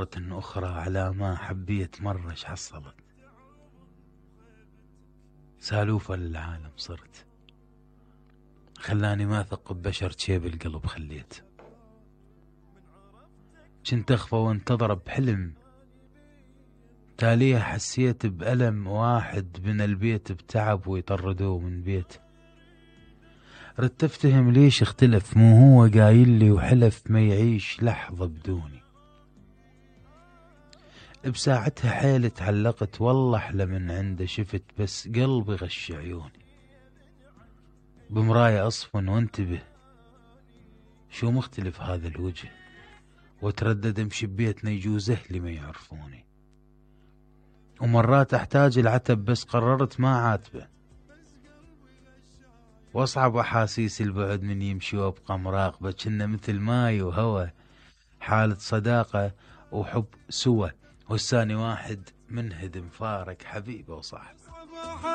مرة أخرى على ما حبيت مرة شحصلت. سالوفة للعالم صرت، خلاني ما أثق ببشر جيب القلب خليت. جنت أخفى وانتظر بحلم، تاليها حسيت بألم واحد من البيت بتعب ويطردوه من بيت. ردت افتهم ليش اختلف، مو هو قايل لي وحلف ما يعيش لحظة بدوني. بساعتها حيل تعلقت، والله احلى من عنده شفت، بس قلبي غش عيوني. بمراية اصفن وانتبه شو مختلف هذا الوجه، وتردد امشي ببيتنا يجوز اهلي ما يعرفوني. ومرات احتاج العتب بس قررت ما عاتبه، واصعب احاسيس البعد من يمشي وابقى مراقبه، كنا مثل ماي وهوى، حالة صداقة وحب سوى، والثاني واحد منهدم فارق حبيبه وصاحبه.